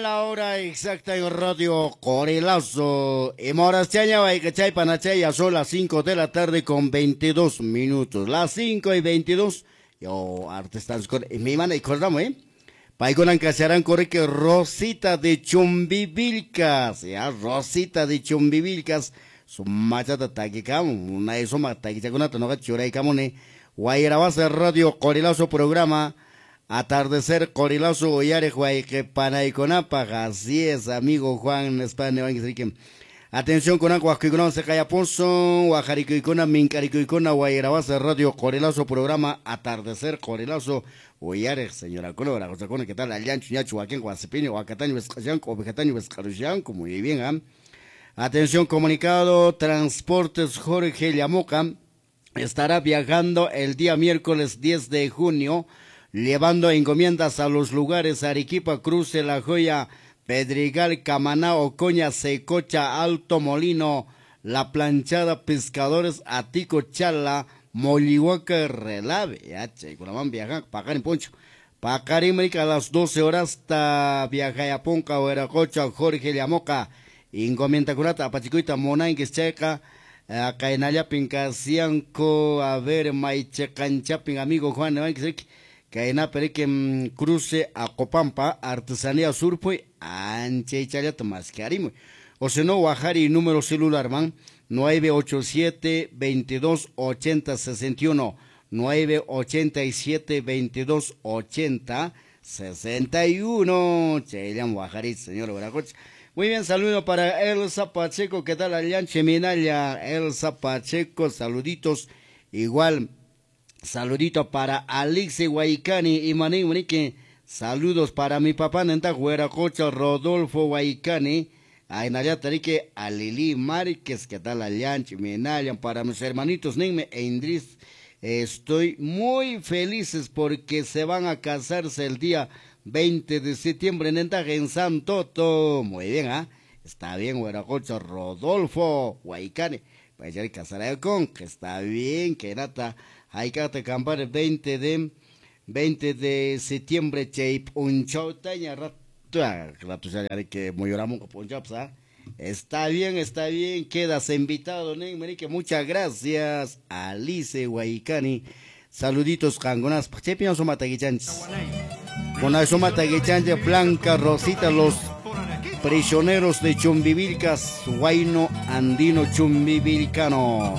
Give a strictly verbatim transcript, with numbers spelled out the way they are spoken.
La hora exacta en Radio Qorilazo. Y moras chaña chay panachay, ya son las cinco de la tarde con veintidós minutos. Las cinco y veintidós. Yo, artestas con mi mana y cordamos, ¿eh? Paykunan kasharan corre Rosita de Chumbivilcas. Ya, Rosita de Chumbivilcas. Su machata taquicam, una suma taquichakunata no churaykamuni. Wayrawasa Radio Qorilazo programa. Atardecer Qorilazo uyariq wayqi panaykunapaq. Así es, amigo Juan España. Atención con waqkuykuna seqayapusun, wajarikuykuna minkarikuykuna Wayrawasa Radio Qorilazo programa Atardecer Qorilazo uyariq señorakuna waraqusakuna, ¿qué tal? Allanchu ñachu wakin wasipiña wakatañu wisq'ashanku ovejatañu wisq'arushanku, muy bien, ¿eh? Atención, comunicado, Transportes Jorge Llamoca estará viajando el día miércoles diez de junio, llevando encomiendas a los lugares Arequipa, Cruce, La Joya, Pedregal, Camaná, Ocoña, Secocha, Alto Molino, La Planchada, Pescadores, Atico, Chala, Mollihuaca, Relave. Ya, che, van viajar, Paqarin poncho. Paqarin, a las doce horas hasta viajayapunca, Hueracocha, Jorge Llamoca, encomienda kunata, apachikuyta, munanquis chayqa, kaynallapin kasianku, a ver, maychiqanchapin, amigo Juan, kaynapi riki Cruce Acopampa, Artesanía Surpuy, anchaychallata maskarimuy. O si no, wajari número celular, man, nueve ocho siete, veintidós, ochenta, sesenta y uno, nueve ochenta y siete, veintidós, ochenta, sesenta y uno. Chayllam wajari, señor Hueracocha. Muy bien, saludo para Elsa Pacheco, ¿qué tal? Allanche Minaya, Elsa Pacheco, saluditos. Igual, saludito para Alexi Guaycani y Manín Monique. Saludos para mi papá Nenta Hueracocha, Rodolfo Guaycani. Ainaya Tarique, a Lili Márquez, ¿qué tal? Allanche Minaya, para mis hermanitos Ninme e Indris. Estoy muy felices porque se van a casarse el día veinte de septiembre en Entaje, en Santoto. Muy bien, ¿ah? ¿eh? Está bien, Hueracocha, Rodolfo Guaycani. Vaya a casar con, que está bien, que nata. Hay que acampar el veinte de septiembre, cheip, un chautaña, rato, rato ya que moyoramos con ¿ah? Está bien, está bien, quedas invitado, Nen Merique, muchas gracias, Alice Guaycani. Saluditos, cangonas, chepiño somataguichanches. Con la somataguichanche, Blanca Rosita, los prisioneros de Chumbivilcas, Huayno Andino Chumbivilcano.